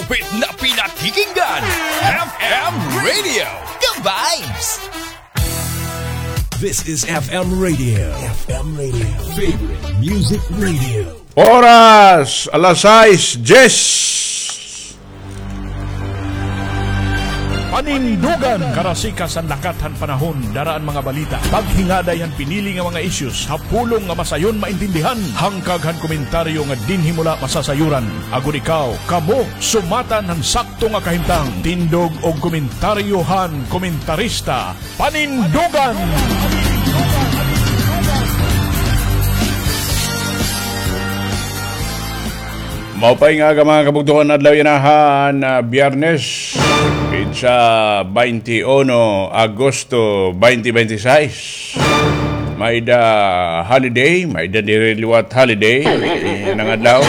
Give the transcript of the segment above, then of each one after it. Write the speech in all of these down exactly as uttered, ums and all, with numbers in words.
With na pinakikinggan, F M Radio, The Vibes. This is F M Radio. F M Radio. Favorite Music Radio. Oras, alas sais diyes. Panindugan! Karasikas an lakat han panahon, dara an mga balita. Paghingaday han pinili nga mga issues ha pulong nga masayon maintindihan. Hangkag han komentaryo nga dinhi mo la masasayuran. Agod ikaw, kamo, sumatan han sakto nga kahimtang. Tindog og komentaryo han komentarista. Panindugan! Maupay nga aga, mga kabugtoan, adlaw yana han, ah, Biyernes, petsa twenty-one Agosto twenty twenty-six. May-ada holiday, may-ada diri liwat holiday, eh, nga adlaw.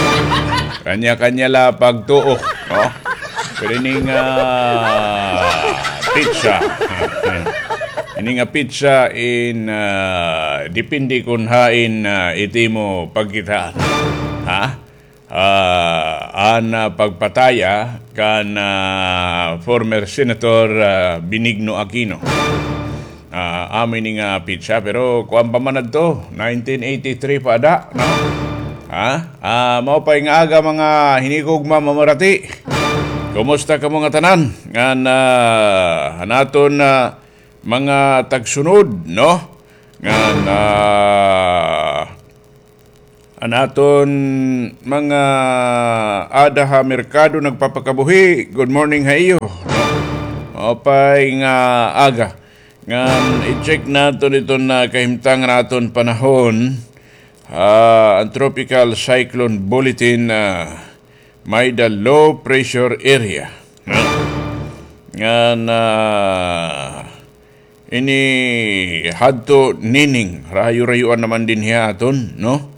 Kanya-kanya la pagtuo, no? Pero ini nga petsa, ini nga petsa in, ah, depende kon hain, ah, it imo pagkitaan. Ha? Ah, an, ah, pagpatay, ah, kan, ah, former Senator, ah, Benigno Aquino. Ah, amo ini nga petsa, pero kuan pa man adto, nineteen eighty-three pa ada, no? Ha? Ah, maupay nga aga, mga hinigugma, mamarati. Kumusta kamo ngatanan? Ngan, ah, an aton, ah, mga tagsunod, no? Ngan, ah, an aton mga ada ha merkado nagpapakabuhi, good morning ha iyo. Maupay nga aga. Ngan i-check naton iton, ah, kahimtang han aton panahon. Ah, an Tropical Cyclone Bulletin, ah, may-ada low pressure area, no? Ngan, ah, ini hadto nining, rayo-rayoan naman dinhi ha aton, no?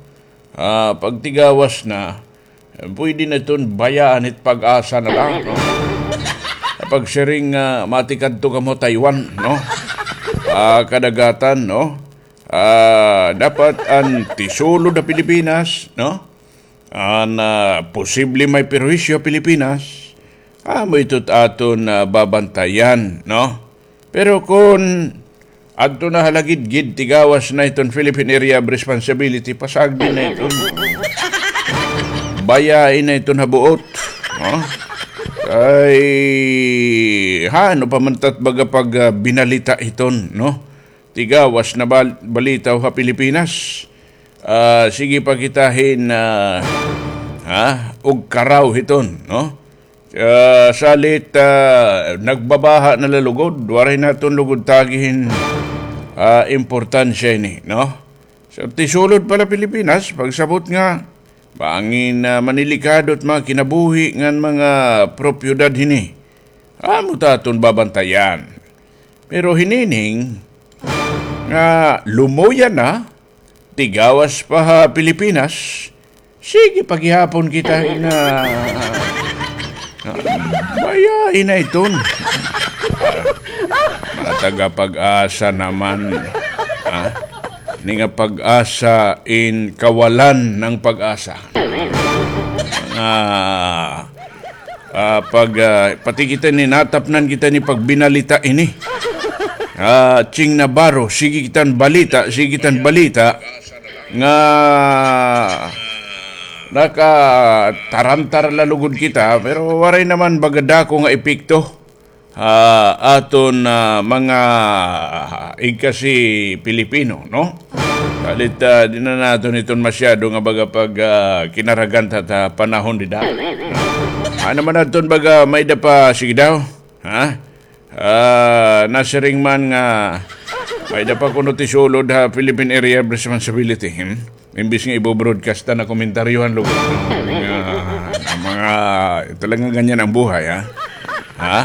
Ah, pagtigawas na, pwede na iton bayaan it PAGASA na la, no? Pagsiring nga matikadto kamo Taiwan, no? Ah, kadagatan, no? Ah, dapat an tisulod ha Pilipinas, no? An, ah, posible may perwisyo ha Pilipinas, amo ito it aton, ah, babantayan, no? Pero kon adto na ha lagidgid, tigawas na iton Philippine Area of Responsibility, pasagdi na iton. Bayai na iton ha buot, no? Kay, ha, ano pa man tat baga pag, ah, binalita hiton, no? Tigawas na bal-, balita ha Pilipinas. Ah, sige pa kita hin, ah, ha, ugkaraw hiton, no? Ah, salit, ah, nagbabaha na la lugod, waray naton lugod tagi hin, ah, importansya ini, no? So, tisulod pa la Pilipinas, pagsabot nga, bangin, ah, manilikado it mga kinabuhi ngan mga propiedad hini. Amo ta aton babantayan. Pero hinining nga lumuya na, tigawas pa ha Pilipinas, sige pa gihapon kita nga, ah, bayai na iton. Mga taga PAGASA naman, ha? Ini nga PAGASA in kawalan ng pag-asa. Mga Ah, pag, ah, pati kita ini, natapnan kita ini pagbinalita ini. Ah, Ching Navarro, sige kita hin balita, sige kita hin balita nga nakatarantar la lugod kita, pero waray naman baga dako nga epekto ha aton, ah, mga igkasi Pilipino, no? Salit, ah, di na naton iton masyado nga baga pag, ah, kinaragan ta ha panahon dida. Ano man adton baga may-ada pa, sige daw, ha? Ah, nasiring man nga may-ada pa kuno tisulod ha Philippine Area of Responsibility, hmm? Imbis nga ibo-broadcast na komentaryohan lugod. Nga, mga, talagang ganyan ang buhay, ha? Ha?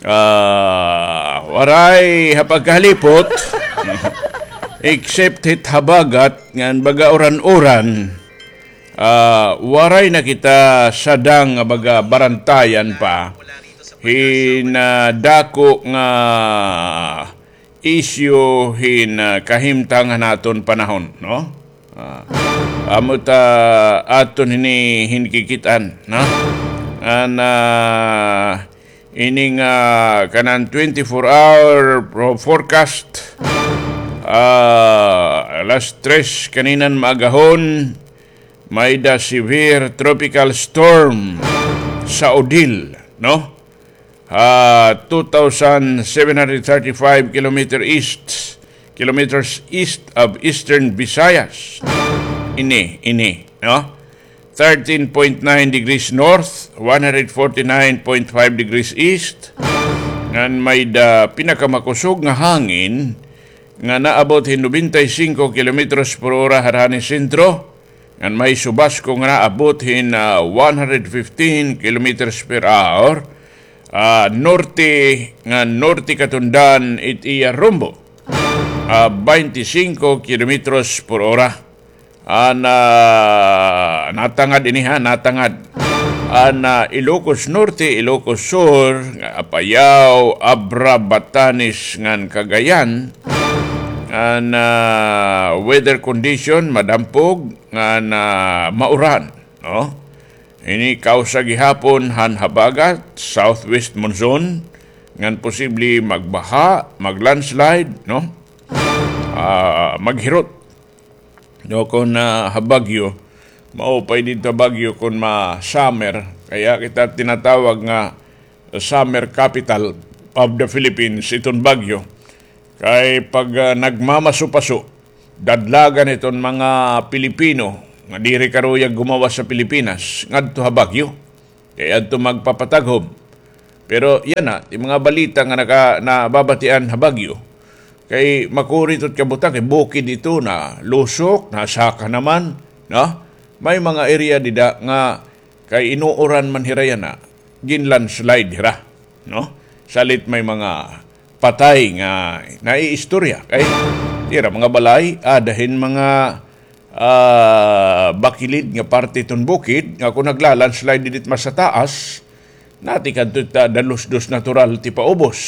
Ah, waray ha pagkahalipot, except hit habagat, ngan baga uran-uran, ah, waray na kita sadang nga baga barantayan pa hin, ah, dako nga isyu hin, ah, kahimtang han aton panahon, no? Ah, amo ta aton hini hinkikit-an, no? An, ah, ining, ah, kanan twenty-four hour pro-, forecast, ah, alas tres kaninan maagahon, may-da severe tropical storm sa Odile, no? Ah, two thousand seven hundred thirty-five kilometer east, kilometers east of eastern Visayas. Ini, ini, no? Thirteen point nine degrees north, one hundred forty-nine point five degrees east. Ngan may-da pinakamakusog nga hangin nga naabot hin nobenta y singko kilometros por ora harani sentro, ngan may subasko nga naabot hin, ah, one hundred fifteen kilometers per hour, ah, norte, ngan norte katundan it iya rumbo, ah, baynte singko kilometros por ora. An, ah, natangad ini, ha, natangad. An, ah, Ilocos Norte, Ilocos Sur, nga Apayao, Abra, Batanes, ngan Cagayan. An, ah, weather condition, madampog, ngan, ah, mauran, no? Ini kausa gihapon han habagat, southwest monsoon, ngan posible magbaha, maglandslide, no? Ah, maghirot. No, kon, ah, ha Baguio, maupay didto ha Baguio kon ma-summer. Kaya kita tinatawag nga summer capital of the Philippines iton Baguio. Kay pag, ah, nagmamaso-paso, dadlagan iton mga Pilipino nga diri karuyag gumawas sa Pilipinas ngadto ha Baguio. Kay adto magpapataghom. Pero yana, it mga balita nga naka-, nababatian ha Baguio, kay makuri it kabutang, kay bukid ito, nalusok, nasaka naman, no? May mga area dida nga kay inuuran man hira yana, ginlandslide hira, no? Salit may mga patay nga naiistorya. Kay hira mga balay, ada hin mga, ah, bakilid nga parte iton bukid, nga kon nagla-landslide didi it mas sa taas, natikadto it, ah, dalusdos natural it ipaubos.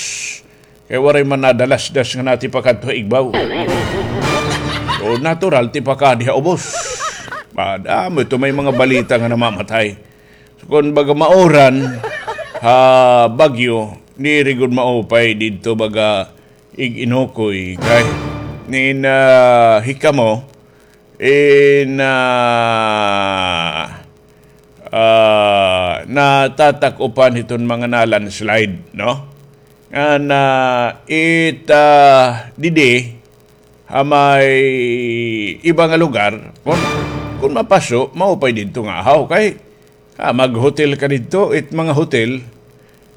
Kay waray man nadalasdas nga natipakadto ha igbaw. So, natural it ipakadi ha ubos. Ba, amo ito may mga balita nga namamatay. So, kon baga mauran ha Baguio, diri gud maupay didto baga ig-inukoy kay nin, ah, hikamo in, ah, ah, natatak-upan hiton mga na-landslide, no? Ngan it, ah, didi ha may iba nga lugar, kon, kon mapaso, maupay didto nga ahaw kay, ah, mag-hotel ka didto, it mga hotel,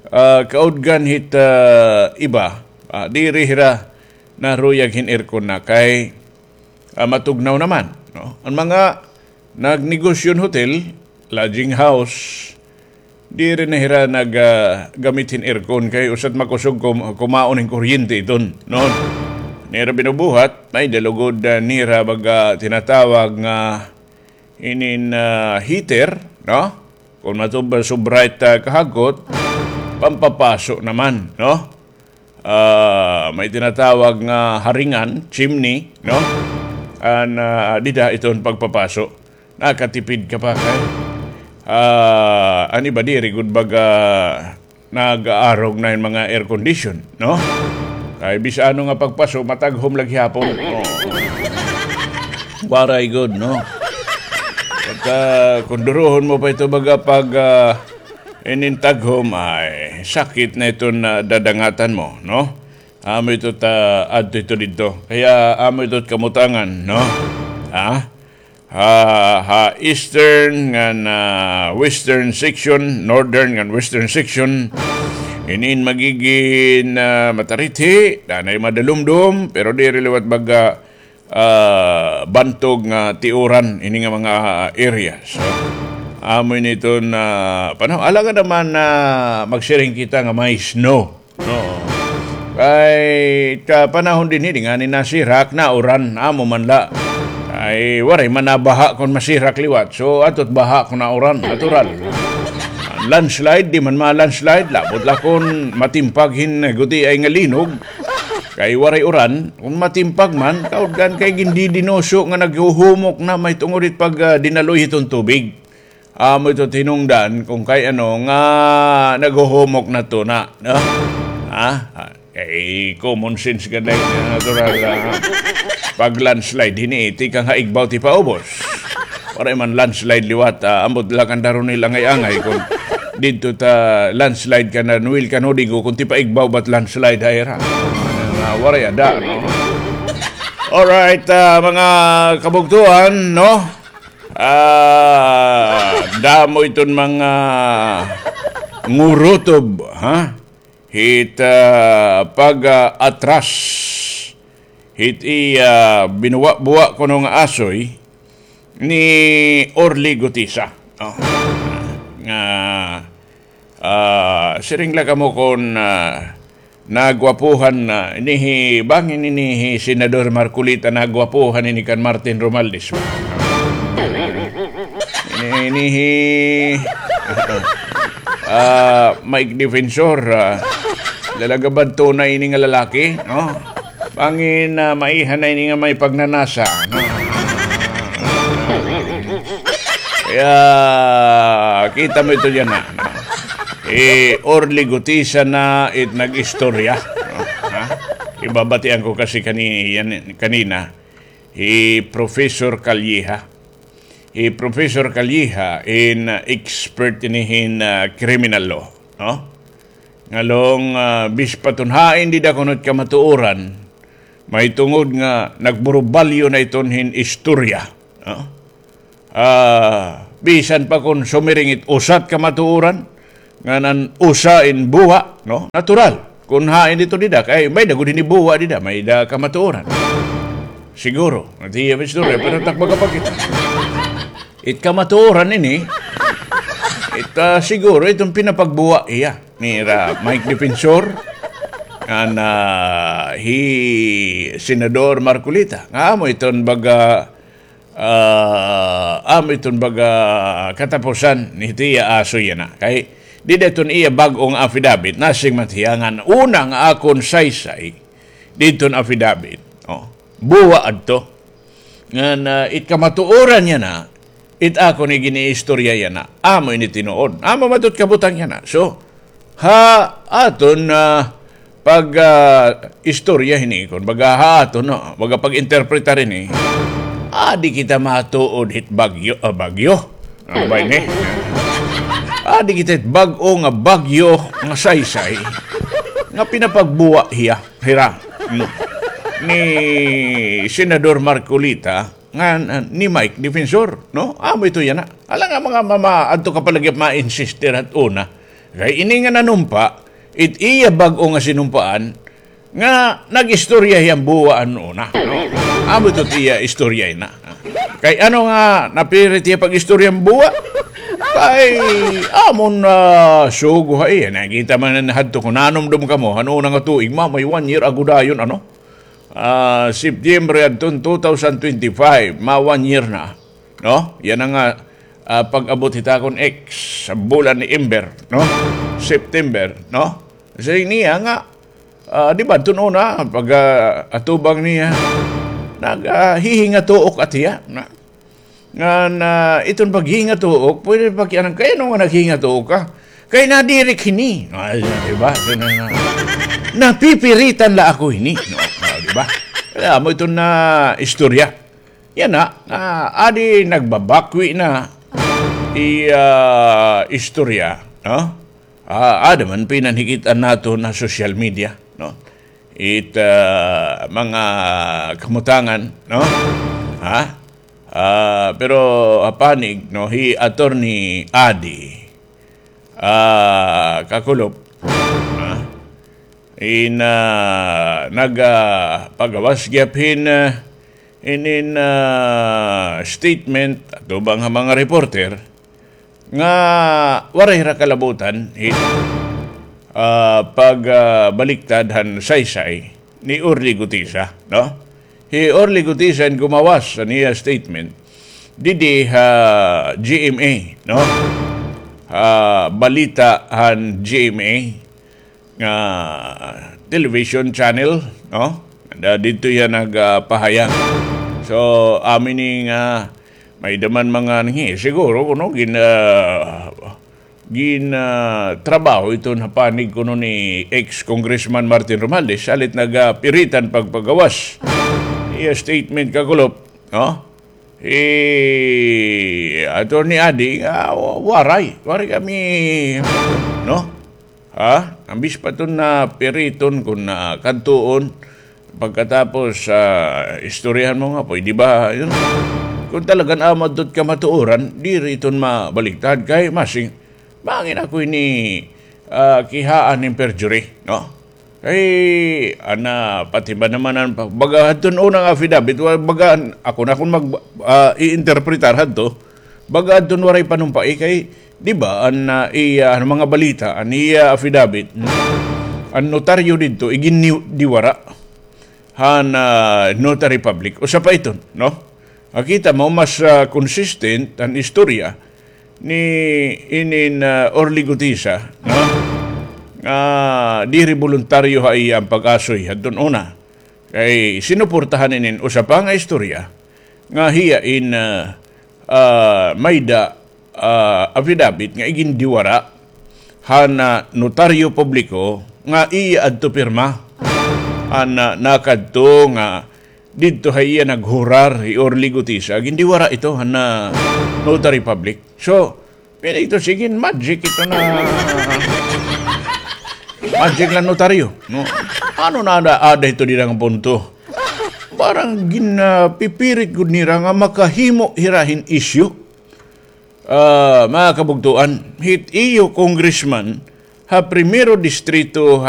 ah, kaudgan hit, ah, iba, ah, diri hira naruyag hin aircon na kay, ah, matugnaw naman, no? An mga nagnegosyo hin hotel, lodging house, diri na hira nag, ah, gamit hin aircon kay usa't makusog kum-, kumaon hin kuryente iton, no? Nira binubuhat, may-da lugod, ah, nira baga tinatawag nga inin, ah, heater, no? Kon matub-, sobra it, ah, kahagkot, pampapaso naman, no? Ah, may tinatawag nga haringan, chimney, no? An, ah, dida iton pagpapaso. Nakatipid ka pa kay, ah, an iba diri gud baga nag-aarog na hin mga air condition, no? Kay bisan ano nga pagpaso, mataghom la gihapon. Oh. Waray gud, no? At, ah, kon duruhon mo pa ito baga pag, ah, inin taghom, ay, sakit na iton, ah, dadangatan mo, no? Amo ito ta, adto ito didto. Kaya amo ito kamutangan, no? Ha? Ha, ha eastern ngan, ah, western section, northern ngan western section, inin magigin, ah, matarithi, danay madalumdom, pero diri liwat baga, ah, bantog nga tiuran ini nga mga area. So, amo ini iton, ah, panahon. Alangan naman na magsiring kita nga may snow. No. Kay ta panahon dinhi, di ngani nasirak, nauran, amo man la. Kay waray man nabaha kon masirak liwat. So, adto't baha kon nauran, natural. Landslide, di man ma-landslide, labot la kon matimpag hin gutiay nga linog. Kay waray uran, kon matimpag man, kaudgan kay gindidinuso nga naghuhumok na mahitungod hit pag, ah, dinaloy hiton tubig. Amo ito tinungdan kung kay ano nga naghuhumok na ito na, no? Ha? Kay common sense ka na, natural, ah, pag landslide, hini, tikang ha igbaw ti paubos. Waray man landslide liwat, ah, ambot la kan daron nila angay-angay kung didto ta landslide kan Noel Canodigo, kung ti paigbaw bat landslide ha ira. Ah, waray ada, no? Alright, ah, mga kabugtuan, no? Ah, damo iton mga ngurutob, ha? Hit, ah, pag, ah, atras. Hit iya binuwa-buwa kuno nga asoy ni Orly Gutisa. Oh. Nga, ah, siring la kamo kon, ah, nagwapuhan na, ini hi, bangin ini hi Senador Marcoleta, nagwapuhan ini kan Martin Romualdez. Ini, ini hi, ah, Mike Defensor, ah, lalagabad to na ini nga lalaki, no? Bangin, ah, maiha na ini nga may pagnanasa, no? Kaya, kita mo ito yana, no? Eh, Orly Gutisa na it nag-istorya, no? Ha? Ibabatian ko kasi kani-, yan, kanina, hi Professor Calleja. Hi Professor Calleja in, uh, expert ini hin, uh, criminal law, no? Ngalong, ah, bis pa iton hain dida kuno it kamatuoran, mahitungod nga nagburubalyo na iton hin istorya, no? Ah, bisan pa kon sumiring it usa it kamatuoran, ngan an usa in buwa, no? Natural. Kon hain dito dida, kay may-ada gud hini buwa dida, may-ada kamatuoran. Siguro, it iya istorya, pero takba ka pa kita. It kamatuoran ini, it, ah, siguro iton pinapagbuwa hiya nira Mike Defensor, ngan, ah, hi Senador Marcoleta. Nga amo iton baga, ah, amo iton baga katapusan ni tiya aso yana. Kay dida iton iya bag-o nga affidavit, nasiring man hiya ngan una nga akon saysay didton affidavit. Oh, buwa adto. Ngan, ah, it kamatuoran yana, it akon iginiistorya yana, amo ini tinuod. Amo man it kabutang yana. So, ha aton, ah, pag, ah, istorya hini, kon baga ha aton, no, baga pag-interpretar hini, adi kita matuod hit bagyo, ah, bagyo. Ano ba ini? Adi kita hit bag-o nga bagyo nga saysay nga pinapagbuwa hiya. Hira, no, ni Senador Marcoleta ngan, ah, ni Mike Defensor, no? Amo ito yana. Hala nga mga mama, adto ka pa lagi ma-insister ha una. Kay ini nga nanumpa, it iya bag-o nga sinumpaan, nga nag-istorya hiya hin buwa an una, no? Amo ito it iya istorya yana. Kay ano nga napirit hiya pag-istorya hin buwa? Kay amon, ah, sugo ha iya. Nakita man hadto kon nanumdom kamo, han una nga tuig, ma-, may one year ago dayon, ano? Ah, September adton two thousand twenty-five, ma-one year na, no? Yana nga, ah, pag-abot hit akon ex, ha bulan ni Ember, no? September, no? Siring niya nga, ah, di ba, adton una, pag, ah, atubang niya, nag, ah, hihingatuok at hiya, na, ngan, ah, iton paghingatuok, pwede pakianhan, kay ano nga naghingatuok ka? Kay nadiri ak hini. Ah, di ba? Napipiritan la ako hini. No? Ah, di ba? Kay amo iton istorya. Yana, ah, adi nagbabakwi na iya, ah, istorya, no? Ah, ada man pinanhikit-an naton ha social media, no? It, ah, mga kamutangan, no? Ha? Ah, pero ha panig, no, hi Attorney Adi, ah, Kakulop, ah, in, ah, nag, ah, pagawas gihap hin, ah, in, in, ah, statement atubang ha mga reporter, nga waray hira kalabutan hit, ah, pag, ah, baliktad han saysay ni Orly Gutisa, no? Hi Orly Gutisa in gumawas han iya statement didi ha G M A, no? Ha balita han G M A nga television channel, no? Da-, didto hiya nagpahayag. So, amo ini nga May-ada man mga nanghi, siguro kuno gin-, ah, gin-, ah, trabaho iton ha panig kuno ni ex-Congressman Martin Romualdez, salit nagapiritan pagpagawas. Iya statement, kakulop, no? Hi Attorney Adi nga, wa-, waray. Waray kami, no? Ha? Ambis pa iton na piriton kon na kadtuon. Pagkatapos, ah, istoryahan mo nga, pwede ba? Yun. Kung talagan amo adto it kamatuoran, diri iton mabaligtad kay masing, mangin ako ini, ah, kihaan hin perjury, no? Kay, ana, pati ba naman an pa-, baga hadton unang affidavit, wa-, baga an, ako na kon mag-, ah, i-interpretar hadto, baga adton waray panumpai kay, di ba, an, ah, iya, an mga balita, an iya affidavit, an notaryo didto, igindiwara han, ah, notary public. Usa pa iton, no? Makita mo, mas, ah, consistent an istorya ni inin, ah, Orly Gutisa, no? Nga diri boluntaryo ha iya an pag-asoy hadton una. Kay sinuportahan inin usa pa nga istorya nga hiya in, ah, ah, mayda, ah, affidavit nga igindiwara han, ah, notaryo publiko nga iya adto pirma. Han, ah, nakadto nga didto ha iya naghurar hi Orly Gutisa, gindiwara ito han, ah, notary public. So, pwede ito, sige, magic ito na. Magic la notaryo, no? Ano na ada, ada ito dida nga punto? Parang gin-, ah, pipirit gud nira nga makahimo hira hin issue. Ah, mga kabugtuan, hit iyo congressman ha Primero Distrito